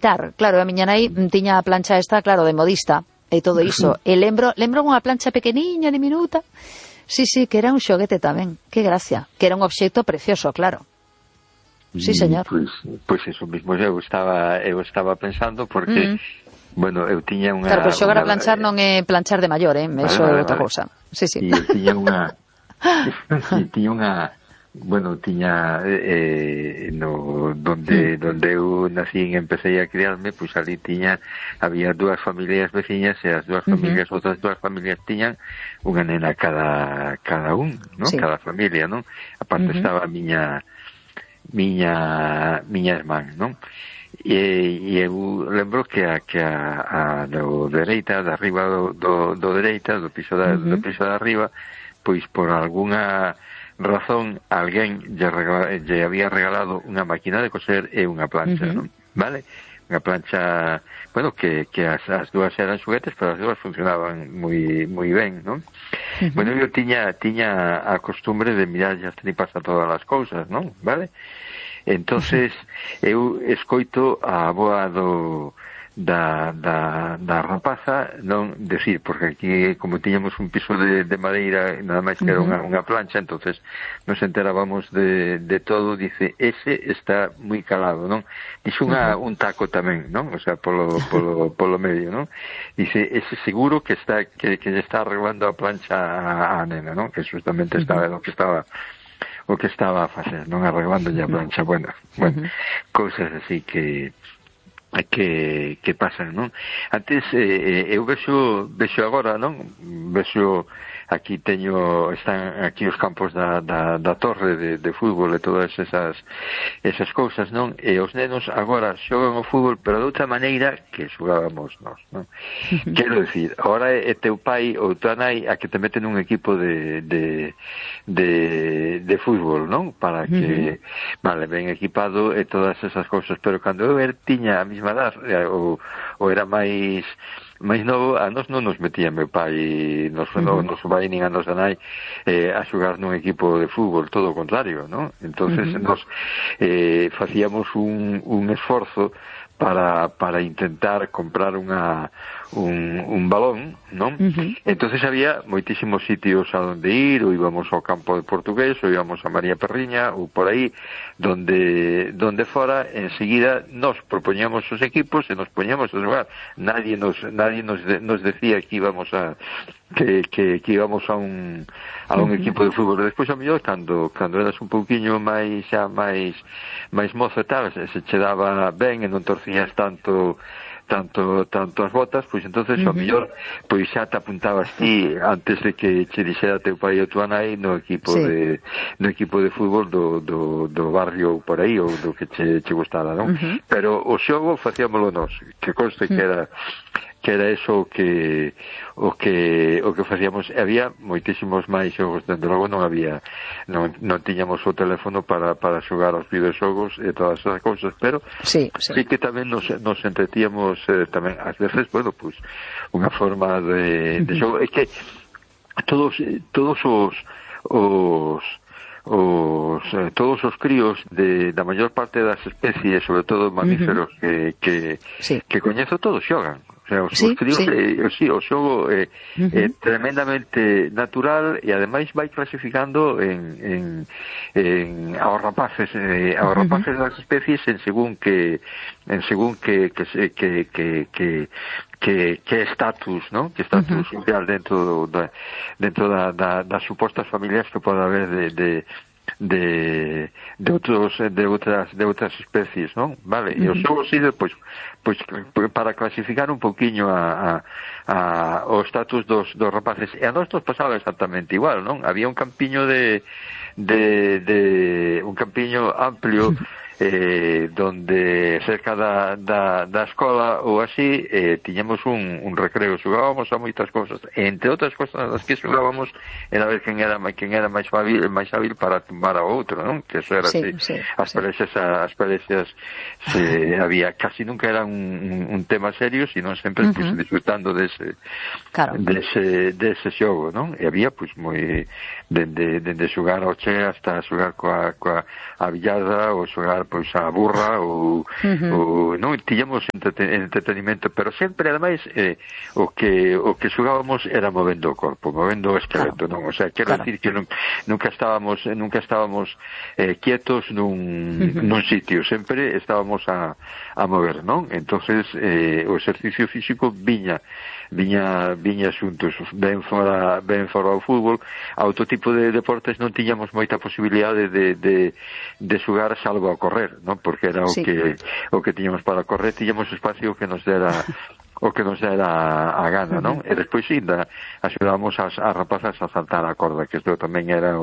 aproveitar. Claro, a miña nai tiña a plancha esta, claro, de modista, e todo iso. E lembro unha plancha pequeniña, diminuta. Sí, que era un xoguete tamén. Que gracia. Que era un obxecto precioso, claro. Sí, señor. Pois eso mismo eu estaba pensando, porque bueno, eu tiña unha... Claro, pero xogar a planchar non é planchar de maior, eso é outra cousa. Sí. E eu tiña unha... Bueno, tiña donde eu nací e empecé a criarme, pois ali había dúas familias veciñas, e as dúas familias, outras dúas familias tiñan unha nena cada un, non? Sí. Cada familia, non? Aparte estaba a miña irmán, non? E eu lembro que a do dereita, de arriba do dereita, do piso de arriba, pois por algunha razón alguén lle había regalado unha máquina de coser e unha plancha, non? Vale? Unha plancha, bueno, que as dúas eran xoguetes, pero as dúas funcionaban moi ben, non? Bueno, eu tiña a costumbre de mirar as tripas a todas as cousas, non? Vale? Entonces eu escoito a avoa da rapaza non decir, porque aquí como tiñamos un piso de madeira, nada máis que era unha plancha, entonces nos enterábamos de todo. Dice, ese está moi calado, non? Dixo un taco tamén, non? O sea, polo medio, non? Dice, ese seguro que lle está arreglando a plancha a nena, non? Que justamente estaba o que estaba a facer, non? Arreglando a plancha. Bueno, cousas así que pasan, non? Antes eu vexo agora, non? Vexo aquí están aquí os campos da torre de fútbol e todas esas cousas, non? E os nenos agora xogan o fútbol, pero de outra maneira que xogábamos nós, non? Quero dicir, agora é teu pai ou tua nai a que te meten un equipo de fútbol, non? Para que vale, ben equipado e todas esas cousas, pero cando eu tiña a mesma edad ou era máis novo, a nos non nos metía meu pai, nos vai nin a nos da nai a xogar nun equipo de fútbol, todo o contrario, non? Entonces nos facíamos un esforzo para intentar comprar un balón, non? Entonces había moitísimos sitios a donde ir, ou íbamos ao campo de Portugués, ou íbamos a María Perriña, ou por aí, donde fora, enseguida nos propoñamos os equipos e nos poñamos a xogar. Nadie nos decía que íbamos a un equipo de fútbol. Despois, a mellor, cando eras un pouquiño máis mozo e tal, se che daba ben e non torcías tanto as botas, pois entonces ao mellor pois xa te apuntabas ti antes de que che dixera teu pai ou tua nai no equipo de fútbol do barrio ou por aí, ou do que che gustara, non? Pero o xogo facíamolo nós, que conste que era eso o que facíamos. Había moitísimos máis xogos, dende logo non tiñamos o teléfono para xogar aos videoxogos e todas esas cousas, pero sí que tamén nos entretíamos tamén, ás veces, bueno, pues unha forma de xogo. É que todos os críos da maior parte das especies, sobre todo mamíferos que coñezo, todos xogan. O sea, os críos, o xogo é tremendamente natural, e ademais vai clasificando aos rapaces das especies en según que estatus, non? Que estatus social dentro das supostas familias que pode haber de outras especies, non? Vale, e o xogo sirve pois para clasificar un pouquiño o estatus dos rapaces. E a nós nos pasaba exactamente igual, non? Había un campiño un campiño amplio donde cerca da escola ou así tiñamos un recreo, xogábamos a moitas cousas, e entre outras cousas nas que xogábamos era ver quen era máis hábil para tumbar a outro, non? Que eso era así. As peleas había, casi nunca era un tema serio, sino sempre pues, disfrutando dese xogo, non? E había pues moi dende xogar ao che hasta xogar coa billada ou xogar pois a burra ou non tiñamos entretenimento, pero sempre ademais o que xogábamos era movendo o corpo, movendo o esqueleto, non? O sea, quero decir que nunca estábamos quietos nun sitio, sempre estábamos a mover, non? Entonces o exercicio físico viña xuntos, ben fora ao fútbol. A outro tipo de deportes non tiñamos moita posibilidade de xogar salvo a correr, non? Porque era o que tiñamos para correr, tiñamos espacio que nos dera a gana, non? E despois ainda axudábamos as rapazas a saltar a corda, que isto tamén era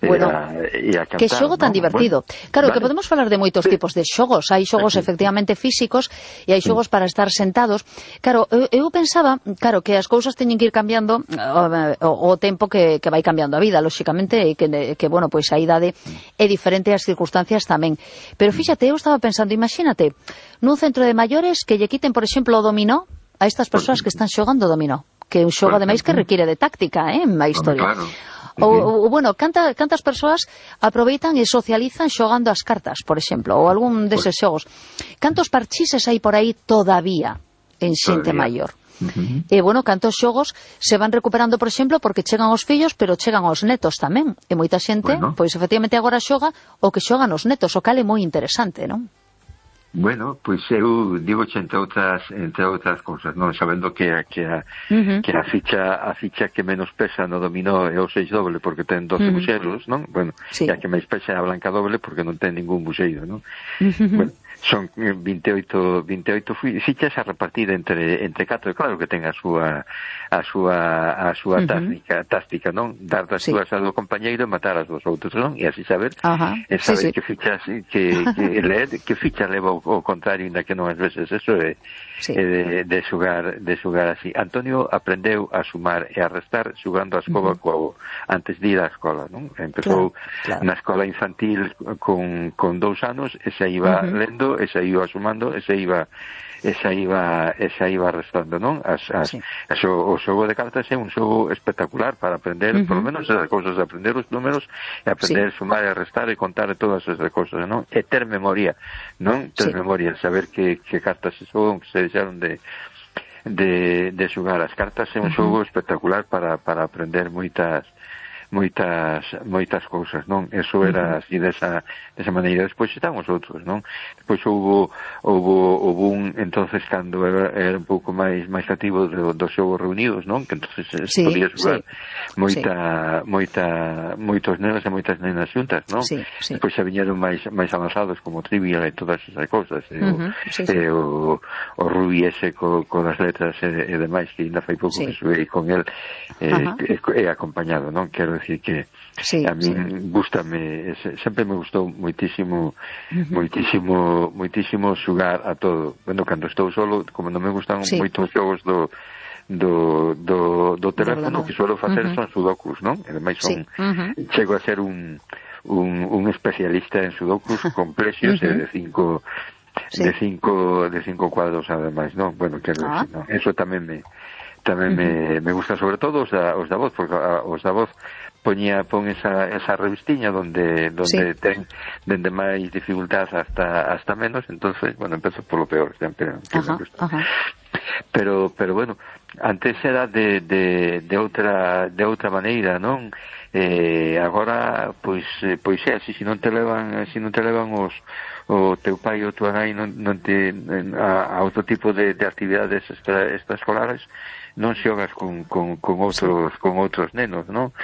e a cantar. Que xogo tan divertido. Claro, que podemos falar de moitos tipos de xogos. Hai xogos efectivamente físicos e hai xogos para estar sentados. Claro, eu pensaba, que as cousas teñen que ir cambiando o tempo que vai cambiando a vida, lóxicamente, e que bueno, pois a idade é diferente e as circunstancias tamén. Pero fíxate, eu estaba pensando, imagínate, nun centro de maiores que lle quiten, por exemplo, o dominó a estas persoas que están xogando dominó, que é un xogo ademais que requiere de táctica, en a historia. Ou bueno, cantas persoas aproveitan e socializan xogando as cartas, por exemplo, ou algún deses xogos. Cantos parchises hai por aí todavía en xente maior? E bueno, cantos xogos se van recuperando, por exemplo, porque chegan os fillos, pero chegan os netos tamén. E moita xente, pois efectivamente agora xoga o que xogan os netos, o cal é moi interesante, non? Bueno, pois eu digo entre outras cousas, non, sabendo que a ficha que menos pesa no dominó é o 6 doble porque ten 12 buxeiros, non? Bueno, e a que máis pesa é a blanca doble porque non ten ningún buxeiro, non? Bueno, son 28 fichas a repartir entre 4, claro que ten a súa táctica, non? Dar das súas ao compañeiro e matar as dos outros, non? E así saber que fichas que ler, que ficha leva o contrario, ainda que non ás veces eso é de xogar así. Antonio aprendeu a sumar e a restar xogando a escoba antes de ir á escola, non? Empezou na escola infantil con 2 anos e se iba lendo, e se iba sumando, e se iba restando, non? O xogo de cartas é un xogo espectacular para aprender, por lo menos as cousas de aprender os números e aprender a sumar e a restar e contar todas esas cousas, non? E ter memoria, non? Ter memoria, saber que cartas se xogan, que se deixaron de xogar. As cartas é un xogo espectacular para aprender moitas cousas, non? Eso era así desa maneira. Despois están os outros, non? Despois houve un entonces cando era un pouco máis activo dos xogos reunidos, non? Que entonces podía xogar moitos nenos e moitas nenas xuntas, non? Despois xa viñeron máis avanzados como Trivial e todas esas cousas, o Rubi ese co das letras e demais, que ainda fai pouco que xoguei con el e acompañado, non? Quero decir que a mí gústame, sempre me gustou moitísimo xogar a todo. Bueno, cando estou solo, como non me gustan moitos xogos do teléfono, que suelo facer son sudokus, non? E ademais chego a ser un especialista en sudokus complexos e de 5 cuadros ademais, non? Bueno, quero decir, non? Eso tamén me gusta, sobre todo os da voz, porque os da voz pon esa revistiña donde ten dende máis dificultad hasta menos, entonces, bueno, empezo polo peor sempre, pero bueno, antes era de outra maneira, non? Agora pois é así, se non te levan o teu pai ou tua nai non te a outro tipo de actividades extraescolares, non xogas con outros nenos, non?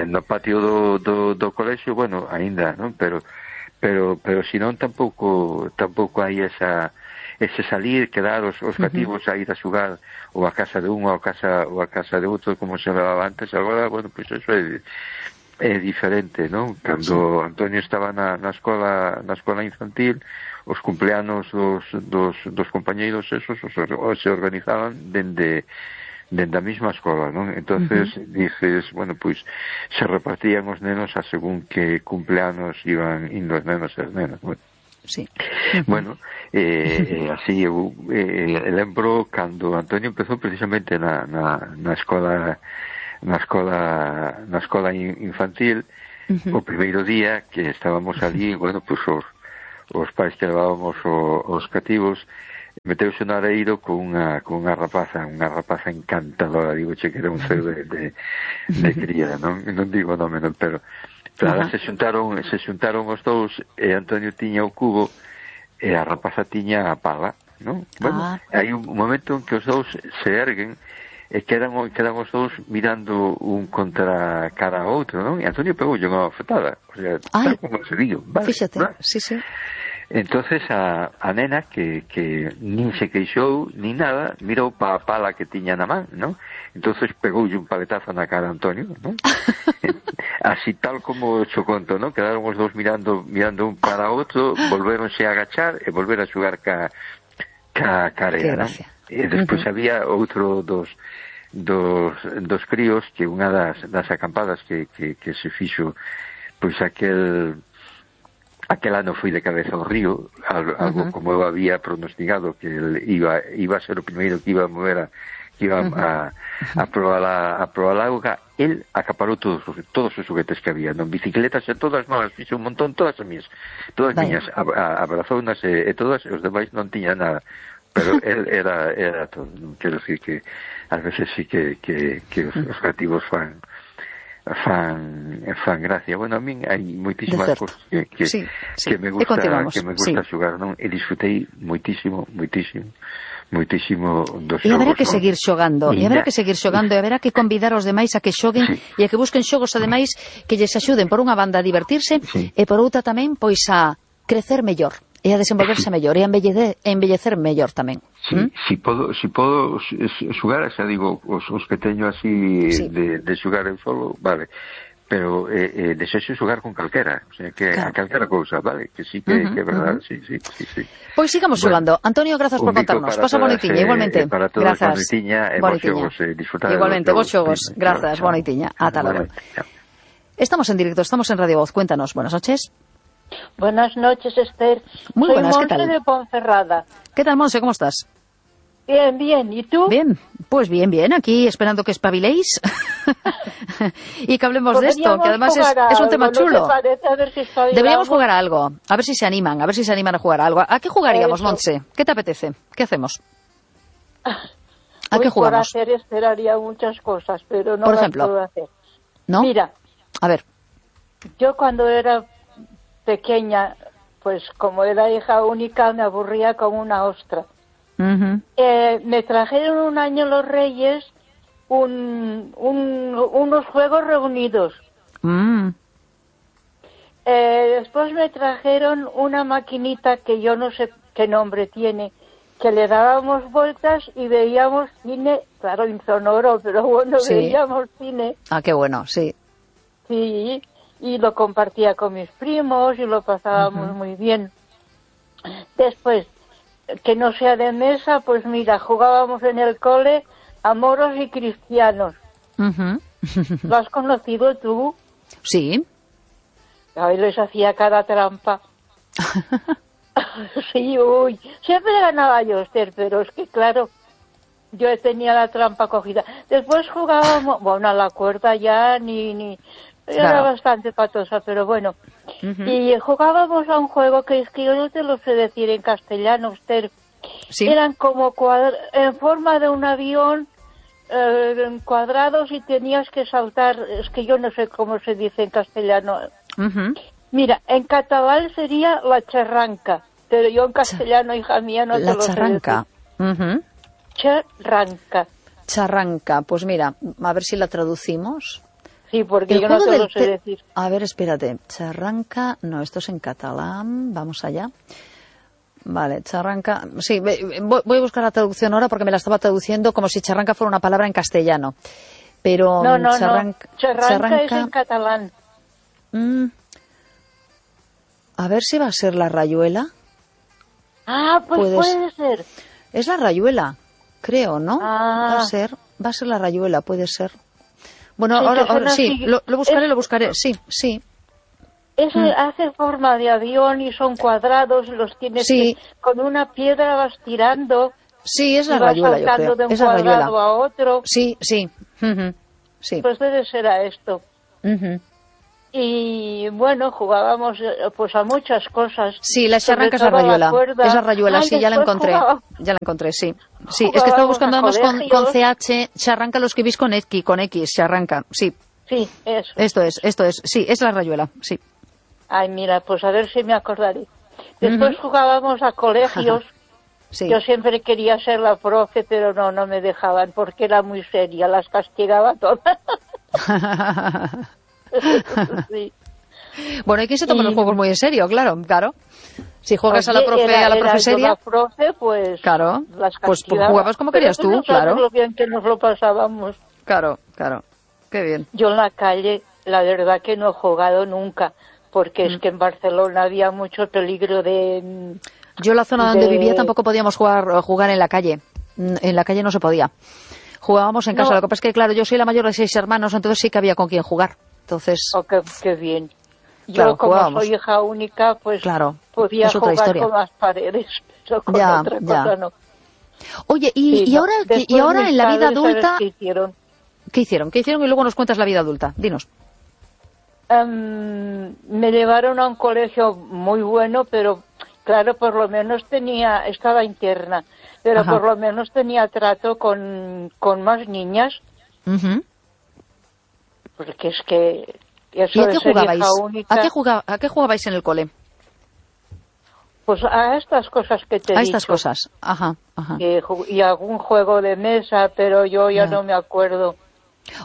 No patio do colexio, bueno, aínda, non? Pero senón tampouco hai ese salir, quedar os cativos a ir a xogar ou a casa de un ou a casa de outro, como se levaba antes. Agora, bueno, pois eso é diferente, non? Cando Antonio estaba na escola infantil, os cumpleanos dos compañeiros esos se organizaban dende a mesma escola, non? Entonces dices, bueno, pois se repartían os nenos a según que cumpleanos iban indo os nenos e as nenas, bueno. Bueno, así eu lembro cando Antonio empezou precisamente na escola infantil, O primeiro día que estábamos ali, bueno, pues os pais que levábamos os cativos, meteuse no areiro con unha rapaza encantadora, digo che que era un ceo de cría, non digo o nome, non, pero se xuntaron os dous, e Antonio tiña o cubo e a rapaza tiña a pala, non? Bueno, hai un momento en que os dous se erguen e quedan os dous mirando un contra cara ao outro, non? E Antonio pegou unha bofetada, o sea, tal como se digo, vale, fíxate, ¿no? sí. Entonces a nena que nin se queixou ni nada, mirou pa a pala que tiña na man, non? Entonces pegoulle un paletazo na cara a Antonio, non? Así tal como xo conto, non? Quedaron os dous mirando un para outro, volvéronse a agachar e volver a xogar ca arena, non? E despois había outro dos críos que unha das acampadas que se fixo, pois aquel ano foi de cabeza ao río, algo como eu había pronosticado, que el iba a ser o primeiro que iba a mover que iba a probar a auga. El acaparou todos os xoguetes que había, non, bicicletas e todas novas, fixo un montón, todas miñas, abrazounas e todas, os demais non tiña nada, pero él era todo. Quero decir que ás veces sí que os cativos fan gracia. Bueno, a min hai moitísimas cousas que me gusta xogar, non? E disfrutei moitísimo dos xogos. E haberá que seguir xogando, e haberá que convidar os demais a que xoguen e a que busquen xogos ademais que lles axuden por unha banda a divertirse e por outra tamén pois a crecer mellor e a desenvolverse mellor e a embellecer mellor tamén. Si podo xugar, xa digo, os que teño así de xugar en solo, vale, pero desexo xugar con calquera, o sea, que a calquera cousa, vale, que sí que é verdade, sí. Pois sigamos xogando. Antonio, grazas por contarnos. Pasa bonitinha, igualmente. Para todos, bonitinha, e vos xogos, disfrutar. Igualmente, vos xogos. Grazas, bonitinha. Ata logo. Estamos en directo, estamos en Radio Voz. Cuéntanos, buenas noches. Buenas noches, Esther. Muy buenas, ¿qué tal? Soy Monse de Ponferrada. ¿Qué tal, Monse? ¿Cómo estás? Bien. ¿Y tú? Bien, pues bien. Aquí esperando que espabiléis y que hablemos de esto, que además es un tema chulo. A ver si deberíamos jugar a algo, a ver si se animan a jugar a algo. ¿A qué jugaríamos, Monse? ¿Qué te apetece? ¿Qué hacemos? ¿A qué jugamos? Por hacer esperaría muchas cosas, pero no por las ejemplo, puedo hacer. ¿No? Mira, a ver. Yo cuando era pequeña, pues como era hija única, me aburría como una ostra. Me trajeron un año los Reyes unos juegos reunidos. Después me trajeron una maquinita que yo no sé qué nombre tiene, que le dábamos vueltas y veíamos cine, claro, insonoro, pero bueno, veíamos cine. Ah, qué bueno, sí. Sí, y lo compartía con mis primos y lo pasábamos muy bien. Después, que no sea de mesa, pues mira, jugábamos en el cole a moros y cristianos. ¿Lo has conocido tú? Sí. Ahí les hacía cada trampa. Sí, uy. Siempre ganaba yo, Esther, pero es que claro, yo tenía la trampa cogida. Después jugábamos, bueno, a la cuerda ya ni era bastante patosa, pero bueno. Y jugábamos a un juego que es que yo no te lo sé decir en castellano, Esther. ¿Sí? Eran como en forma de un avión, cuadrados, y tenías que saltar. Es que yo no sé cómo se dice en castellano. Mira, en catalán sería la charranca, pero yo en castellano, hija mía, no te lo sé decir. Charranca. Charranca, pues mira, a ver si la traducimos. Sí, porque yo no te lo sé decir. A ver, espérate. Charranca, no, esto es en catalán. Vamos allá. Vale, charranca. Sí, voy a buscar la traducción ahora porque me la estaba traduciendo como si charranca fuera una palabra en castellano. Pero no. Charranca es en catalán. A ver si va a ser la rayuela. Ah, pues puede ser. Es la rayuela, creo, ¿no? Ah. Va a ser la rayuela, puede ser. Bueno, sí, ahora sí, lo buscaré, sí. Hace forma de avión y son cuadrados, los tienes que, con una piedra vas tirando. Sí, es la rayuela, yo creo. De un es la cuadrado rayuela. A otro. Sí. Sí. Pues debe ser a esto. Y bueno, jugábamos pues a muchas cosas. Sí, la charranca es la rayuela. Es la rayuela, sí, ya la encontré. Ya la encontré, sí. Sí, es que estaba buscando además con CH, charranca lo escribís con X, charranca, sí. Sí, eso. Esto es, sí, es la rayuela, sí. Ay, mira, pues a ver si me acordaré. Después jugábamos a colegios. Sí. Yo siempre quería ser la profe, pero no me dejaban porque era muy seria, las castigaba todas. Sí. Bueno, hay que se toman los juegos muy en serio, claro. Si juegas a la profe, a la profe seria, la profe, pues claro, las pues jugabas como querías tú, no claro. Lo bien que nos lo pasábamos. Claro, qué bien. Yo en la calle, la verdad que no he jugado nunca, porque es que en Barcelona había mucho peligro de... Yo en la zona donde vivía tampoco podíamos jugar en la calle. En la calle no se podía. Jugábamos en casa. Lo que pasa es que, claro, yo soy la mayor de 6 hermanos, entonces sí que había con quien jugar. Entonces... Oh, qué bien. Yo, como soy hija única, pues podía jugar con las paredes, pero con otra cosa no. Oye, y ahora en la vida adulta... ¿Qué hicieron? ¿Qué hicieron? Y luego nos cuentas la vida adulta. Dinos. Me llevaron a un colegio muy bueno, pero claro, por lo menos estaba interna, pero por lo menos tenía trato con más niñas. Porque es que... Eso ¿Y a qué jugabais? Única, ¿A qué jugabais en el cole? Pues a estas cosas que te he dicho. A estas cosas, ajá. Y algún juego de mesa, pero yo ya no me acuerdo.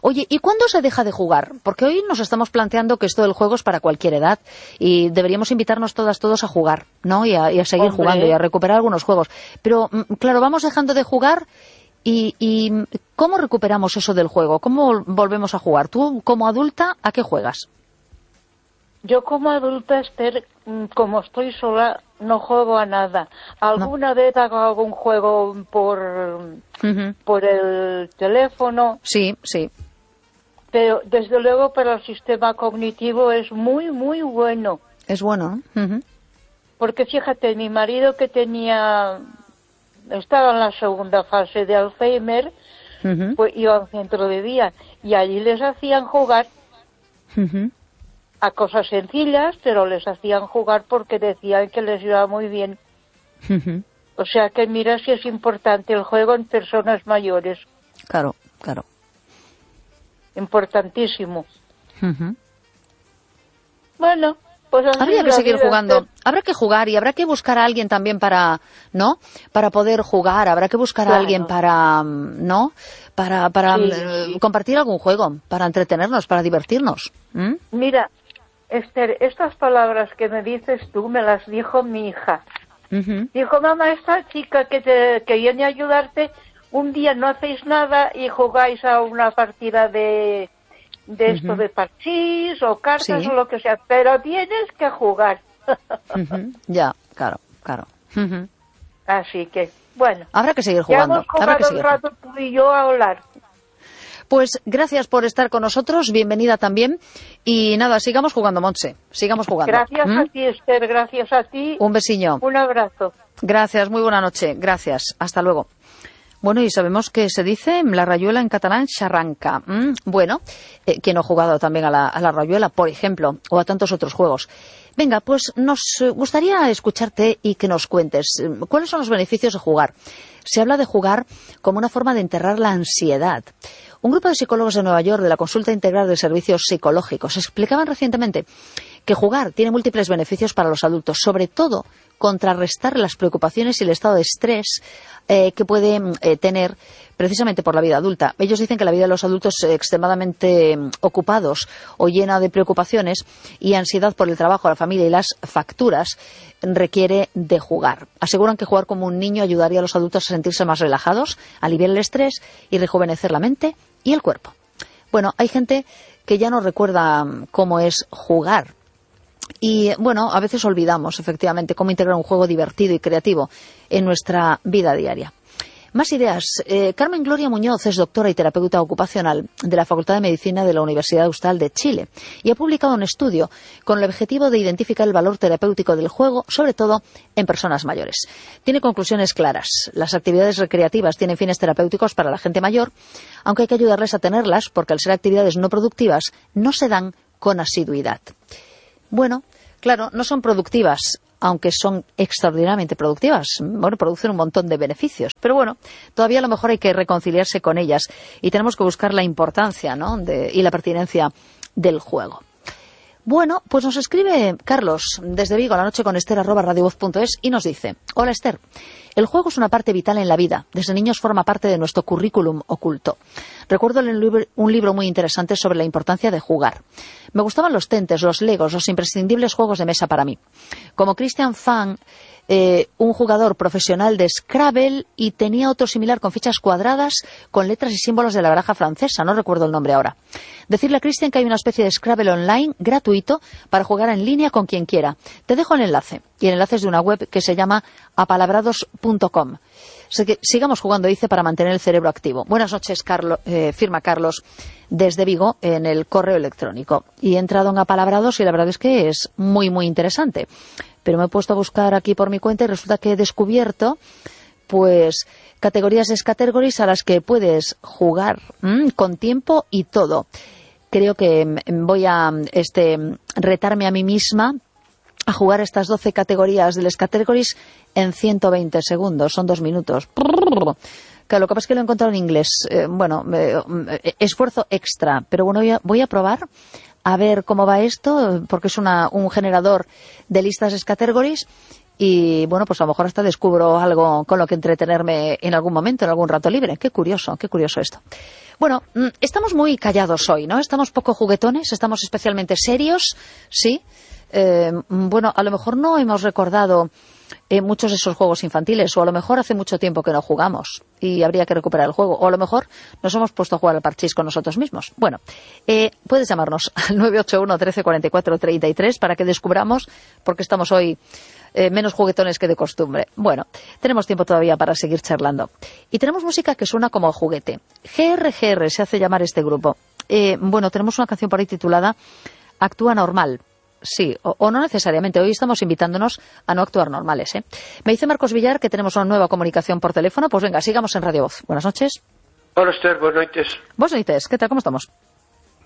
Oye, ¿y cuándo se deja de jugar? Porque hoy nos estamos planteando que esto del juego es para cualquier edad y deberíamos invitarnos todos a jugar, ¿no? Y a seguir jugando y a recuperar algunos juegos. Pero, claro, vamos dejando de jugar y ¿cómo recuperamos eso del juego? ¿Cómo volvemos a jugar? ¿Tú, como adulta, a qué juegas? Yo como adulta, Esther, como estoy sola, no juego a nada. Alguna vez hago algún juego por el teléfono. Sí. Pero desde luego para el sistema cognitivo es muy, muy bueno. Es bueno, ¿no? Porque fíjate, mi marido que estaba en la segunda fase de Alzheimer, pues iba a un centro de día y allí les hacían jugar a cosas sencillas, pero les hacían jugar porque decían que les iba muy bien. O sea que mira si es importante el juego en personas mayores. Claro. Importantísimo. Bueno, pues habría que seguir jugando. Habrá que jugar y habrá que buscar a alguien también para poder jugar. Habrá que buscar a alguien para compartir algún juego, para entretenernos, para divertirnos. Mira, Esther, estas palabras que me dices tú me las dijo mi hija. Dijo, mamá, esta chica que viene a ayudarte, un día no hacéis nada y jugáis a una partida de esto de parchís o cartas o lo que sea, pero tienes que jugar. Ya, claro. Así que, bueno. Habrá que seguir jugando. Ya hemos jugado un rato tú y yo a hablar. Pues gracias por estar con nosotros, bienvenida también. Y nada, sigamos jugando, Montse, sigamos jugando. Gracias a ti, Esther, gracias a ti. Un besiño. Un abrazo. Gracias, muy buena noche, gracias, hasta luego. Bueno, y sabemos que se dice la rayuela en catalán, charranca. Bueno, quien no ha jugado también a la rayuela, por ejemplo, o a tantos otros juegos. Venga, pues nos gustaría escucharte y que nos cuentes cuáles son los beneficios de jugar. Se habla de jugar como una forma de enterrar la ansiedad. Un grupo de psicólogos de Nueva York de la Consulta Integral de Servicios Psicológicos explicaban recientemente que jugar tiene múltiples beneficios para los adultos, sobre todo contrarrestar las preocupaciones y el estado de estrés que puede tener precisamente por la vida adulta. Ellos dicen que la vida de los adultos extremadamente ocupados o llena de preocupaciones y ansiedad por el trabajo, la familia y las facturas requiere de jugar. Aseguran que jugar como un niño ayudaría a los adultos a sentirse más relajados, aliviar el estrés y rejuvenecer la mente y el cuerpo. Bueno, hay gente que ya no recuerda cómo es jugar. Y bueno, a veces olvidamos efectivamente cómo integrar un juego divertido y creativo en nuestra vida diaria. Más ideas. Carmen Gloria Muñoz es doctora y terapeuta ocupacional de la Facultad de Medicina de la Universidad Austral de Chile y ha publicado un estudio con el objetivo de identificar el valor terapéutico del juego, sobre todo en personas mayores. Tiene conclusiones claras. Las actividades recreativas tienen fines terapéuticos para la gente mayor, aunque hay que ayudarles a tenerlas porque al ser actividades no productivas no se dan con asiduidad. Bueno, claro, no son productivas, aunque son extraordinariamente productivas. Bueno, producen un montón de beneficios. Pero bueno, todavía a lo mejor hay que reconciliarse con ellas y tenemos que buscar la importancia, ¿no?, y la pertinencia del juego. Bueno, pues nos escribe Carlos desde Vigo, La Noche con Esther @radiovoz.es, y nos dice: hola Esther, el juego es una parte vital en la vida. Desde niños forma parte de nuestro currículum oculto. Recuerdo un libro muy interesante sobre la importancia de jugar. Me gustaban los tentes, los legos, los imprescindibles juegos de mesa para mí. Como Christian Fang, un jugador profesional de Scrabble, y tenía otro similar con fichas cuadradas con letras y símbolos de la baraja francesa, no recuerdo el nombre ahora. Decirle a Christian que hay una especie de Scrabble online gratuito para jugar en línea con quien quiera. Te dejo el enlace, y el enlace es de una web que se llama apalabrados.com. Sigamos jugando, dice, para mantener el cerebro activo. Buenas noches, Carlos, firma Carlos desde Vigo en el correo electrónico. Y he entrado en Apalabrados y la verdad es que es muy, muy interesante. Pero me he puesto a buscar aquí por mi cuenta y resulta que he descubierto, pues, categorías de categories a las que puedes jugar con tiempo y todo. Creo que voy a retarme a mí misma a jugar estas 12 categorías de las categories en 120 segundos. Son 2 minutos. Que lo que pasa es que lo he encontrado en inglés. Esfuerzo extra. Pero bueno, voy a probar a ver cómo va esto, porque es un generador de listas de categories. Y bueno, pues a lo mejor hasta descubro algo con lo que entretenerme en algún momento, en algún rato libre. Qué curioso esto. Bueno, estamos muy callados hoy, ¿no? Estamos poco juguetones, estamos especialmente serios, ¿sí? Bueno, a lo mejor no hemos recordado muchos de esos juegos infantiles, o a lo mejor hace mucho tiempo que no jugamos y habría que recuperar el juego, o a lo mejor nos hemos puesto a jugar al parchís con nosotros mismos. Bueno, puedes llamarnos al 981 13 44 33 para que descubramos por qué estamos hoy menos juguetones que de costumbre. Bueno, tenemos tiempo todavía para seguir charlando. Y tenemos música que suena como juguete. GRGR se hace llamar este grupo. Bueno, tenemos una canción por ahí titulada Actúa Normal. Sí, o no necesariamente. Hoy estamos invitándonos a no actuar normales, ¿eh? Me dice Marcos Villar que tenemos una nueva comunicación por teléfono. Pues venga, sigamos en Radio Voz. Buenas noches. Hola, Esther, buenas noches. Buenas noches, ¿qué tal? ¿Cómo estamos?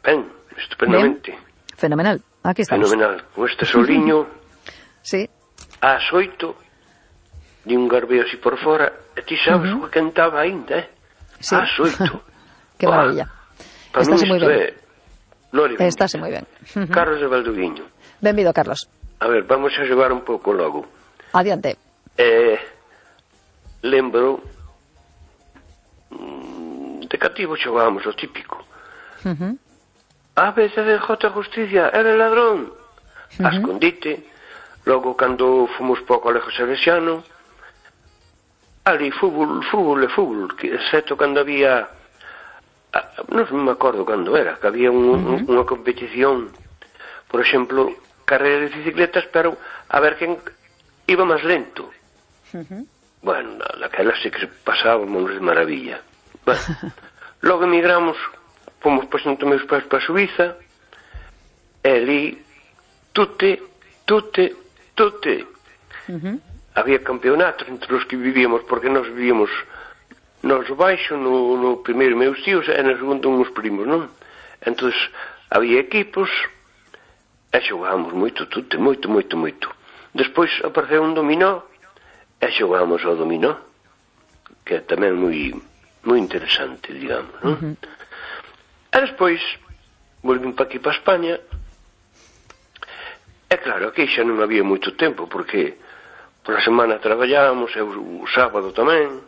Ben, estupendamente. Bien. Fenomenal, aquí estamos. Fenomenal. Con este soliño sí. ás 8 de un garbeo así por fora, e ti sabes o que cantaba ainda, Sí. Ás 8. Qué maravilla. Estáse moi ben. Estáse moi ben. Carlos de Valdoviño. Benvido, Carlos. A ver, vamos a xogar un pouco logo. Adiante. Lembro de cativo xogábamos o típico. A veces de J. Justicia era ladrón. A escondite. Logo, cando fomos para o Colexio Salesiano, ali fútbol, que excepto cando había, non me acordo cando era, que había unha competición, por exemplo, carreira de bicicletas, pero a ver quen iba máis lento. Bueno, naquela sí que pasábamos de maravilla. Bueno, logo emigramos, fomos presento meus pais para Suiza, e ali tute. Había campeonatos entre os que vivíamos, porque nós vivíamos nos baixo, no primeiro meus tíos, e no segundo uns primos, non? Entón, había equipos, e xogábamos moito tute, moito. Despois apareceu un dominó, e xogábamos ao dominó, que é tamén moi interesante, digamos, non? E despois, volvín para aquí, para España. É claro, aquí xa non había moito tempo, porque pola semana traballábamos, e o sábado tamén.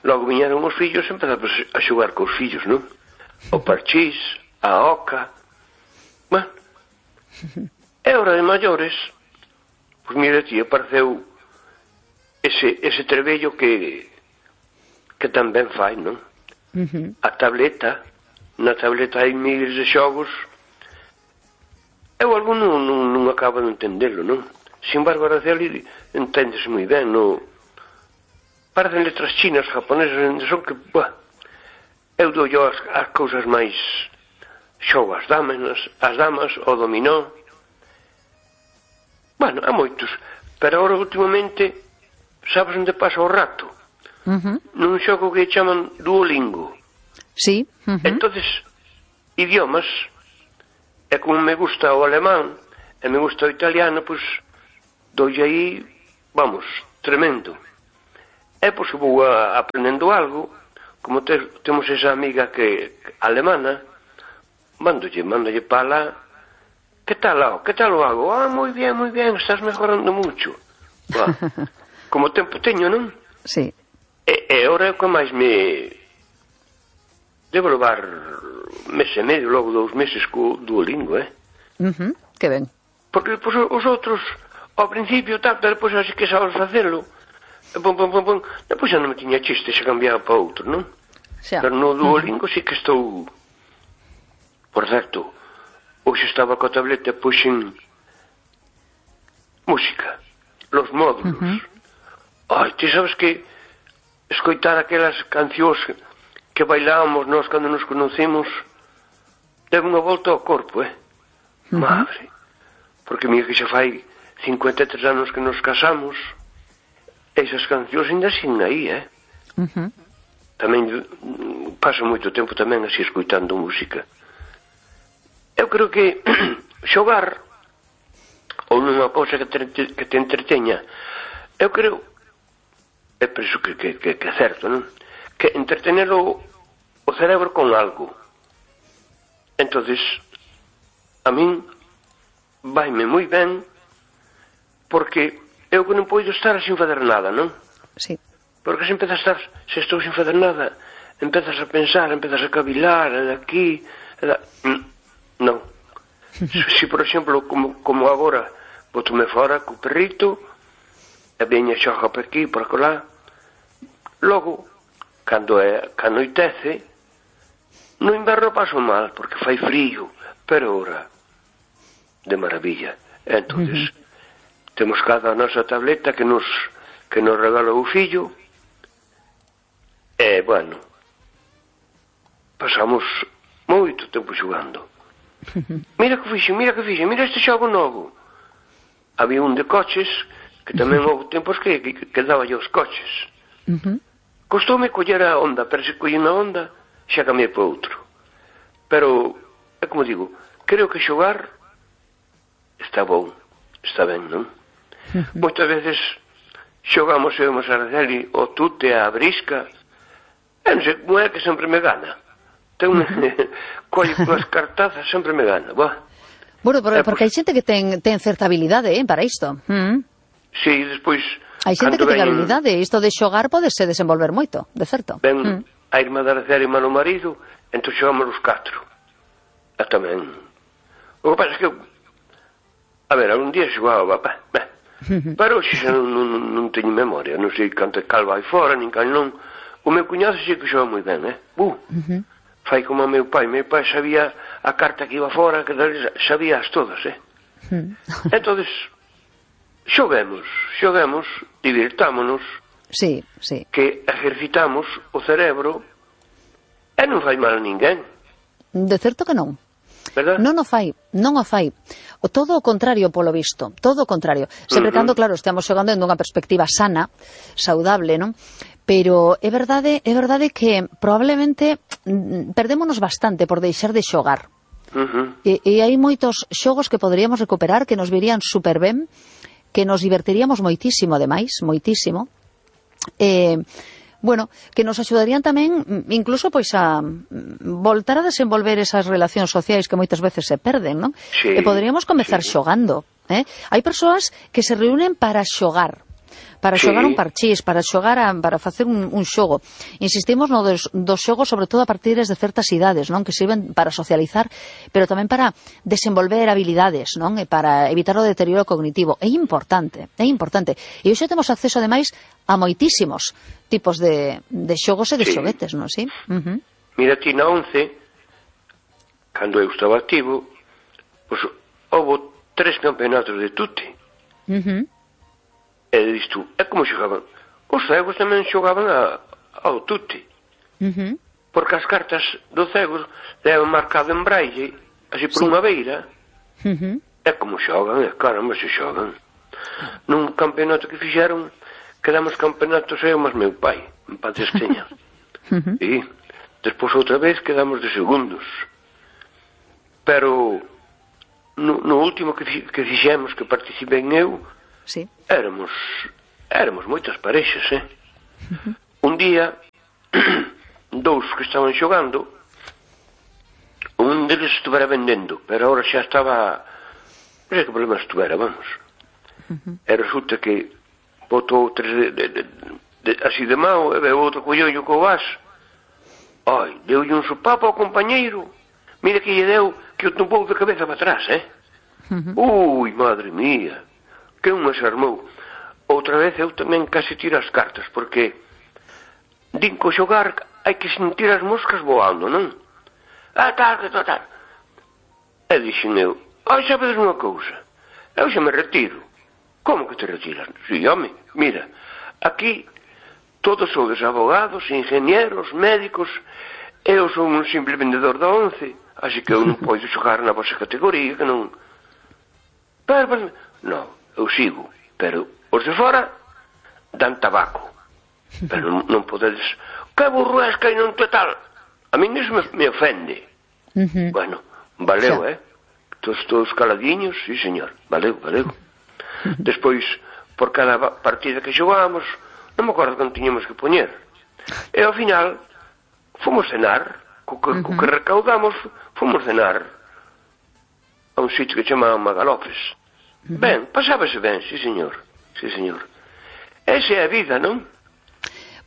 Logo viñeron os fillos e empezamos a xogar cos fillos, non? O parchís, a oca. Bueno, é hora de maiores. Pois mira, ti, apareceu ese trebello que tamén fai, non? A tableta. Na tableta hai miles de xogos. Eu algo non acabo de entendelo, non? Sin embargo, a ali enténdese moi ben, non? Parecen letras chinas, japonesas, son que, eu dou yo as cousas máis xogo as damas, o dominó. Bueno, há moitos, pero agora últimamente, sabes onde pasa o rato? Nun xogo que chaman Duolingo. Sí. Entonces, idiomas. E como me gusta o alemán e me gusta o italiano, pois doi aí, vamos, tremendo. E pois vou aprendendo algo, como temos esa amiga que alemana, mándolle para lá. ¿Qué tal lo hago? Muy bien, estás mejorando mucho. Como tempo teño, non? Sí. E ahora é o que máis me... Devo levar mes e medio, logo 2 meses co Duolingo, Que ben. Porque pues, os outros, ao principio, depois así que sabes facelo, depois xa non me tiña chiste, xa cambiaba para outro, non? Pero no Duolingo sí que estou... Por certo, hoxe estaba coa tableta pois en música, los módulos. Ai, ti sabes que escoitar aquelas cancións que bailábamos nós cando nos conocemos debe unha volta ao corpo, Madre. Porque mira que xa fai 53 anos que nos casamos, esas cancións ainda siguen aí, Tamén paso moito tempo tamén así escoitando música. Eu creo que xogar ou nunha cousa que te entreteña, eu creo, é por iso que é certo, non? Que entretener o cerebro con algo. Entonces, a min vaime moi ben, porque eu que non poido estar sin fazer nada, non? Sí. Porque se empezas a estar, se estou sin fazer nada, empezas a pensar, empezas a cavilar, aquí, non. Se, por exemplo, como agora, botome fora co perrito, e veña xoga por aquí, por acolá, logo, cando anoitece, no inverno paso mal, porque fai frío, pero ora, de maravilla. Entonces, temos cada nosa tableta que nos regalou o fillo, e, bueno, pasamos moito tempo xogando. Mira que fixen, mira este xogo novo. Había un de coches, que tamén houve tempos que daba os coches. Costoume coller a onda, pero se collín a onda, xa cambiei para outro. Pero, é como digo, creo que xogar está bom, está ben, non? Moitas veces xogamos eu e Araceli, o tute, a brisca, e non sei como é que sempre me gana. Colle unhas cartazas, sempre me gana. Bueno, porque hai xente que ten certa habilidade para isto. Sí, despois... Hai xente que ten habilidade, isto de xogar podese desenvolver moito, de certo. Ben, a irmá da Araceli e o marido, entón xogamos os 4. E tamén. O que pasa é que a ver, algún día xogaba, pero hoxe xa non teño memoria, non sei canto cal vai fora, nin cal non. O meu cuñado xe que xoga moi ben, fai como o meu pai sabía a carta que iba fora, que sabía as todas, Entonces, xoguemos, divirtámonos, sí, que ejercitamos o cerebro e non fai mal a ninguén. De certo que non. ¿Verdad? Non o fai. O todo o contrario, polo visto, todo o contrario. Sempre cando, claro, estamos xogando en unha perspectiva sana, saudable, non? Pero é verdade que probablemente perdémonos bastante por deixar de xogar. E hai moitos xogos que poderíamos recuperar, que nos virían super ben, que nos divertiríamos moitísimo, ademais, moitísimo. Bueno, que nos axudarían tamén incluso pois a voltar a desenvolver esas relacións sociais que moitas veces se perden, non? Sí, e poderíamos comezar xogando, Hai persoas que se reúnen para xogar, xogar un parchís, para facer un xogo. Insistimos no dos xogos, sobre todo a partir de certas idades, non? Que sirven para socializar, pero tamén para desenvolver habilidades, non? E para evitar o deterioro cognitivo. É importante. E hoxe temos acceso, ademais, a moitísimos tipos de xogos e de xoguetes, non? Sí? Mira, ti na 11, cando eu estaba activo, pois houve 3 campeonatos de tute. E disto, é como xogaban. Os cegos tamén xogaban ao tute. Porque as cartas do cegos levan marcado en braille, así por unha beira. É como xogan, caramba, se xogan. Nun campeonato que fixeron, quedamos campeonatos eu mas meu pai, en paz despeña. E despois outra vez quedamos de segundos. Pero no último que fixemos, que participei eu, sí. éramos moitas parexas, Un día, dous que estaban xogando, un deles estuvera vendendo, pero agora xa estaba, non sei que problema estuvera, vamos. E resulta que botou tres así de mao, e veo outro collollo co vas. Ai, deu-lle un sopapo ao compañeiro. Mira que lle deu, que o tumbou de cabeza para atrás, Ui, madre mía, que un se armou. Outra vez eu tamén casi tiro as cartas, porque din que xogar hai que sentir as moscas voando, non? Tal. E dixen eu, sabedes unha cousa, eu xa me retiro. Como que te retiras? Si, home, mira, aquí todos sodes abogados, ingenieros, médicos, eu son un simple vendedor da 11, así que eu non podo xogar na vosa categoría, que non... Pero, non, eu sigo, pero os de fora dan tabaco, pero non podedes... Que burro és que non te tal? A min iso me ofende. Bueno, valeu, todos caladiños, sí, señor, valeu. Despois, por cada partida que xogamos, non me acordo que tiñamos que poñer. E ao final, fomos cenar, co que recaudamos, fomos cenar a un sitio que chamaban Magalofes. Ben, pasábase ben, sí, señor. Esa é a vida, non?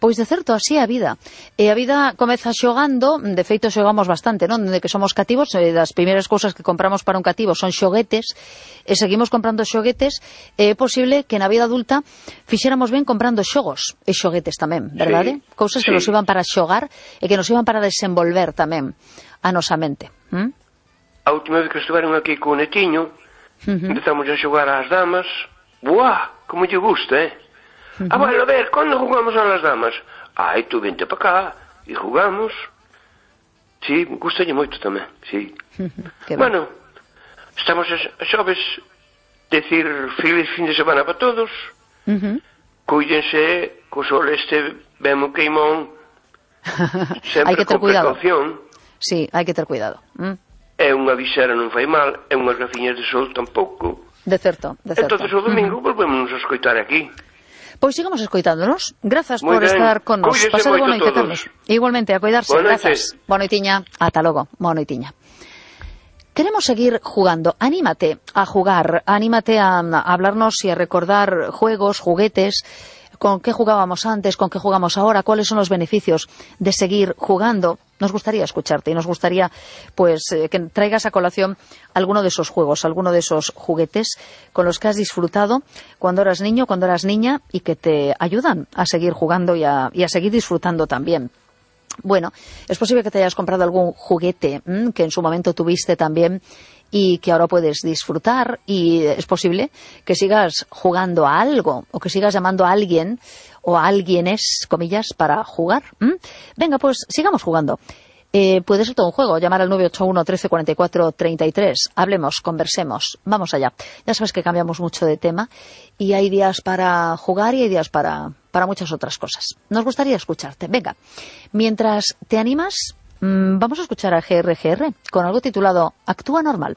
Pois de certo, así é a vida. E a vida comeza xogando, de feito xogamos bastante, non? De que somos cativos, das primeiras cousas que compramos para un cativo son xoguetes, e seguimos comprando xoguetes, e é posible que na vida adulta fixéramos ben comprando xogos e xoguetes tamén, verdade? Cousas que nos iban para xogar e que nos iban para desenvolver tamén a nosa mente. A última vez que estiveron aquí co netiño, empezamos a xogar ás damas. Buah, como lle gusta, bueno, a ver, ¿cuándo jugamos a las damas? Ai, tú vente para cá e jugamos. Sí, gustalle moito tamén, sí. Bueno, estamos a xoves, decir feliz fin de semana para todos. Cuídense, co sol este ben queimón. Sempre con precaución. Sí, hai que ter cuidado. É unha visera non fai mal, é unhas gafiñas de sol tampouco. De certo. Entonces o domingo volvemos a escoitar aquí. Pois sigamos escoitándonos. Grazas por estar con nos. Pasade boa noite a todos. Igualmente, a cuidarse. Grazas. Boa noitiña. Ata logo. Boa noitiña. Queremos seguir jugando. Anímate a jugar. Anímate a hablarnos y a recordar juegos, juguetes. ¿Con qué jugábamos antes? ¿Con qué jugamos ahora? ¿Cuáles son los beneficios de seguir jugando? Nos gustaría escucharte y nos gustaría pues que traigas a colación alguno de esos juegos, alguno de esos juguetes con los que has disfrutado cuando eras niño, cuando eras niña y que te ayudan a seguir jugando y a seguir disfrutando también. Bueno, es posible que te hayas comprado algún juguete que en su momento tuviste también y que ahora puedes disfrutar, y es posible que sigas jugando a algo o que sigas llamando a alguien o a alguienes, comillas, para jugar. Venga, pues sigamos jugando. Puede ser todo un juego. Llamar al 981 13 44 33. Hablemos, conversemos. Vamos allá. Ya sabes que cambiamos mucho de tema y hay días para jugar y hay días para muchas otras cosas. Nos gustaría escucharte. Venga, mientras te animas, vamos a escuchar a GRGR con algo titulado Actúa Normal.